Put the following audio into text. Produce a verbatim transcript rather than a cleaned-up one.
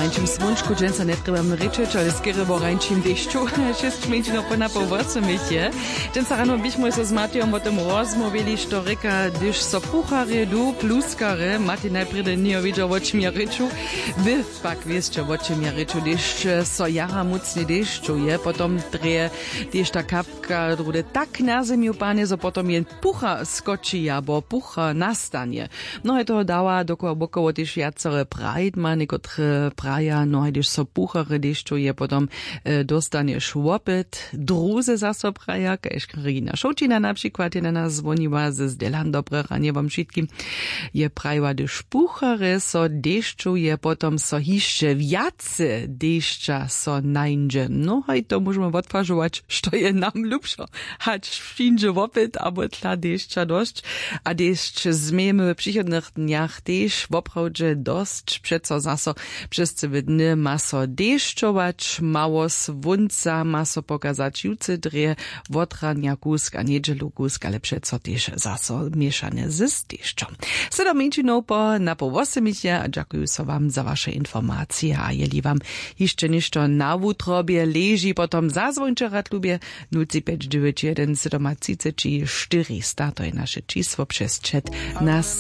Rańčim słónčku dźensa njetrjebamy rěčeć, ale skerje wo rańčim dešću. Šěsć mjeńšinow po napoł wosomich je. Dźensa rano běchmoj so z Matejom wo tym rozmołwili, što rěka, hdyž so pucharje du pluskarje. Matej najprjedy njejo wědźał, wo čim ja rěču. Wy pak wěsće, wo čim ja rěču. Hdyž so jara mócnje dešću je, potom drje tež ta kapka druhdy tak na zemju panje, zo potom jen pucha skoči abo pucha nastanje. Mnohe toho dawa dokoła wokoło tež wjacore prajdma, někotre praja, no hajdež so puchary dešćow je potom, dóstanješ wopyt. Druze zaso praja, kaž karina šołćina na přikład je na nas zwoniła z delan dobre ranje wam wšitkim. Je prajiła, hdyž puchary so dešćow je potom so hišće wjace dešća so nańdźe, no haj to móžemy wotwažować, što je nam lubšo, hač přińdźe wopyt abo tla dešća dosć. A dešć změjemy w přichodnych dnjach tež woprawdźe dosć přeco zaso. Přez cyły dny ma so dešćować, mało słónca ma so pokazać jutře drje, wotranja kusk a njedźelu kusk, ale přeco tež zaso měšane z dešćom. Sydom mjeńšinow po napoł wosomich je a dźakuju so wam za waše informacije a jeli wam hišće něšto na wutrobje leži, potom zazwońće rad lubje. Nul tři pjeć dźewjeć jedyn sydomatřiceći štyrista, to je naše čisło přez čet. Nas